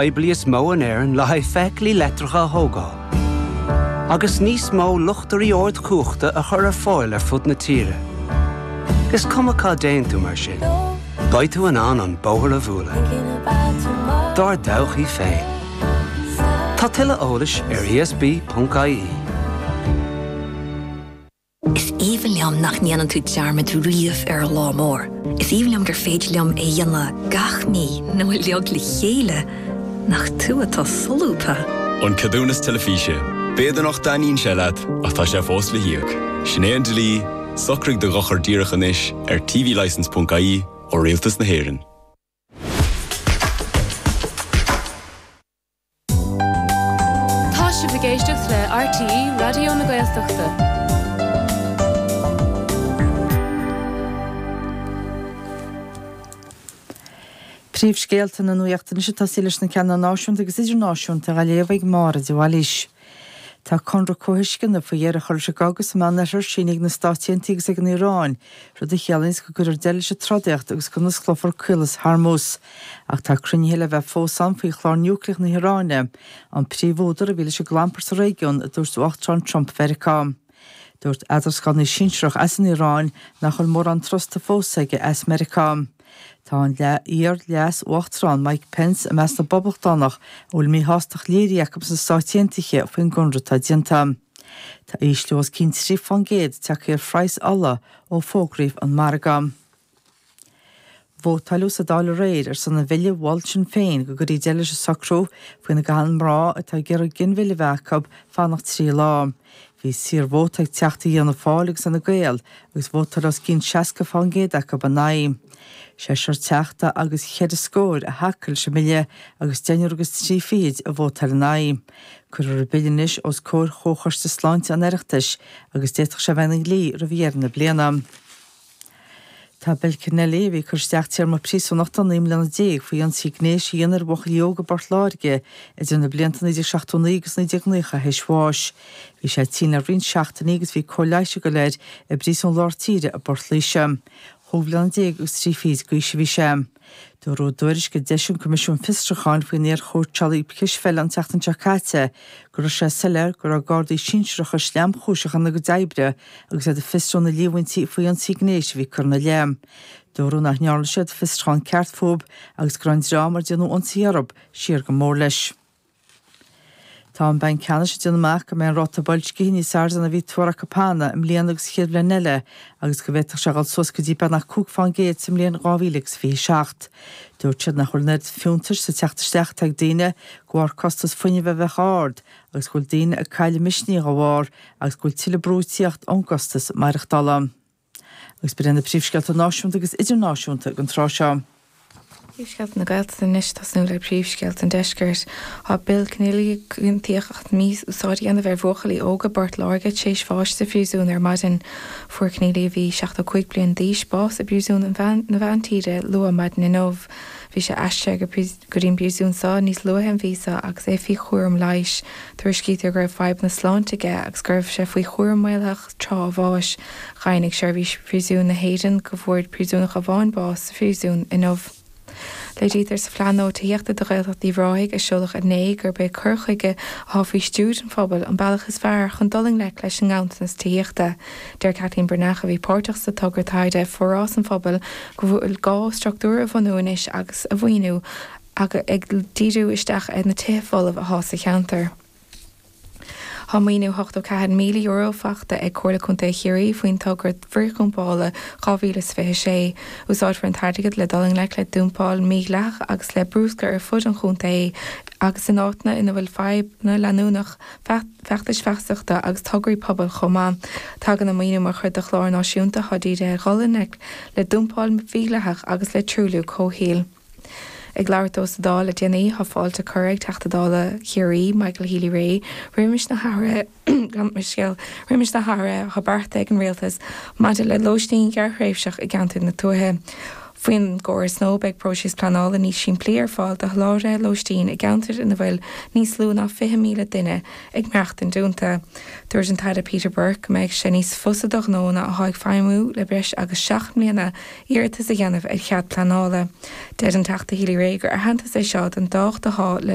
Poiblí is mó in Éirinn le haghaidh feithiclí leictreacha a thógáil, agus níos mó luchtairí ardchumhachta a chur ar fáil ar fud na tíre. Is cuma cá dtéann tú mar sin, beidh tú in ann an bóthar a bhualadh. Dár dtodhchaí féin. Tá tuilleadh eolais ar ESB.ie. Is aoibhinn liom nach ndéanann tú dearmad riamh ar an lá mór. Is aoibhinn liom gur féidir liom é a dhéanamh gach mí nó uilig le chéile. Nach tú atá solúbtha! An Ceadúnas Teilifíse. B'fhéidir nach dtaitníonn sé leat, ach tá sé fós le híoc. Sin é an dlí, socraigh do dhochar díreach anois ar tvlicence.ie ó Rialtas na hÉireann. Tá sibh ag éisteacht le RTÉ Raidió na Gaeltachta. Príomhscéalta na Nuachta anois ag tosaí leis na ceanna náisiúnta agus idirnáisiúnta á léamh ag Máire de Bhailís. Tá conradh comhthuisceana faoi dheireadh a chur leis an gcogadh sa Meánoirthear sínithe ag na Stáit Aontaithe agus ag an Iaráin, rud a chiallaíonns go gcuirfear deireadh leis an trodaíocht agus go n-osclófar Caolas Hormuz. Ach tá cruinnithe le bheith fós ann faoi chlár núicléach na hIaráine, an príomhúdar a bhí leis an gclampar sa réigiún, a dúirt Uachtarán Trump Mheiriceá. Dúirt eadrascánaí sinsearach as an Iaráin nach bhfuil mórán trusta fós aige as Meiriceá. Tá an iar-leas-uachtarán Mike Pence i measc na bPoblachtánach a bhfuil míshástacht léirithe acu sna Stáit Aontaithe faoin gconradh atá déanta. Tá ísliú os cionn 3 fán gcéad tagtha ar phraghas ola ó fógraíodh an margadh. Vótáileadh sa Dáil aréir ar son an bhille a mhol Sinn Féin go gcuirfí deireadh leis an socrú faoina gcaitheann mná atá ag iarraidh ginmhilleadh a bheith acu fanacht 3 lá. Bhí saorvóta ag Teachtaí Fhianna Fáil agus Fhine Gael agus vótáil os cionn 60 fán gcéad acu ina aghaidh. Seisear Teachta agus cheithre scór a thacaigh leis an mbille agus deichniúr agus trí fichid a vótáil ina aghaidh. Cuirfear an bille anois os comhair Chomhchoiste Sláinte an Oireachtais agus d'fhéadfadh sé a bheith ina dhlí roimh dheireadh na bliana. Tá Bill Kennelly, a bhí ag cur isteach téarma príosúnachta 19 mbliana faoi ionsaí gnéis a dhéanamh ar bhuachaillí óga i bPort Láirge idir na blianta 1979 agus 1990 théis bháis. Bhí sé tinn le roinnt seachtainí agus bhí cóir leighis ag dul air i bPríosún Lár Tíre i bPort Laoise. Chúig bhliana déag agus trí fichid d'aois a bhí sé. Dúradh i dtuairisc a d'eisigh an Coimisiún Fiosrúcháin faoin iar-chóitseálaí cispheile an tseachtain seo caite go raibh sé soiléir go raibh gardaí sinsearacha sleamchúiseach ina gcuid oibre agus iad ag fiosrú na líomhaintí faoi ionsaí gnéis a bhí curtha ina leith. Dúradh nach ndearna siad fiosrúchán ceart fúthu agus go raibh an dream ar déanadh ionsaí orthu siar go mór leis. Tá an Banc Ceannais ag déanamh amach go mbeidh an ráta boilscithe níos airde ná a bhí tuartha acu cheana i mbliana agus an chéad bhliain eile agus go bhféadfadh sé a dhul suas go dtí beagnach 5 fán gcéad sa mbliain 2027. Dúirt siad nach bhfuil an oiread fiúntais sa teacht isteach atá ag daoine de bharr costas fuinnimh a bheith ard agus go bhfuil daoine ag cailleadh misnigh dá bharr agus go bhfuil tuilleadh brú ag tíocht ón gcostas maireachtála. Agus b'in iad na príomhscéalta náisiúnta agus idirnáisiúnta don tráth seo. Príomhscéalta na Gaeltachta anois, tosnú le príomhscéalta an Deiscirt. Tá Bill Kenneally, a ciontaíodh as mí-úsáid a dhéanamh ar bhuachaillí óga i bPort Láirge, tar éis bháis sa phríosún ar maidin. Fuair Kenneally, a bhí 75 bliain d'aois, bás i bPríosún na Meántíre luath maidin inniu. Bhí sé aistrithe go dtí an bpríosún seo níos luaithe an mhí seo agus é faoi chúram leighis. Tuairiscítear go raibh fadhbanna sláinte aige agus go raibh sé faoi chúram maolaitheach tráth a bháis. Dheimhnigh Seirbhís Phríosúin na hÉireann go bhfuair príosúnach amháin bás sa phríosún inniu. Léirítear sa phlean nua tithíochta do Ghaeltacht Uíbh Ráthaigh a seoladh inné gurb é cur chuige atá faoi stiúir an phobail an bealach is fearr chun dul i ngleic leis an nganntanas tithíochta. Deir Kathleen Breathnach, a bhí páirteach sa togra taighde Forás an Phobail, go bhfuil gá struchtúir a bhunú anois agus a mhaoiniú ag díriú isteach ar na tithe folamh atá sa cheantar. Tá maoiniú €84,000 faighte ag Comhairle Contae Chiarraí faoin togra frithdhumpála 2026. Úsáidfear an t-airgead le dul i ngleic le dumpáil mhídhleathach agus le bruscar ar fud an chontae agus in áiteanna ina bhfuil fadhbanna leanúnach, feachtais feasachta agus tograí pobail chomh maith. Tagann an maoiniú mar chuid de chlár náisiúnta atá dírithe ar dhul i ngleic le dumpáil mhídhleathach agus le truailliú comhshaoil. Ag labhairt dó sa Dáil le déanaí, tá fáilte curtha ag Teachta Dála Chiarraí, Michael Healy-Rae, roimis na hathruithe roimis na hathruithe atá beartaithe ag an Rialtas maidir le lóistín ghearrthréimhseach i gceantair na tuaithe. Faoin gcóras nua beidh próiseas pleanála níos simplí ar fáil do sholáthraithe lóistín i gceantair ina bhfuil níos lú ná 20,000 duine ag maireachtaint iontu. Dúirt an tAire Peter Burke go mbeidh sé níos fusa do ghnónna atá ag feidhmiú le breis agus 7 mbliana iarratas a dhéanamh ar chead pleanála. Deir an Teachta Healy-Rae gur aitheantas é seo don dtábhacht atá le.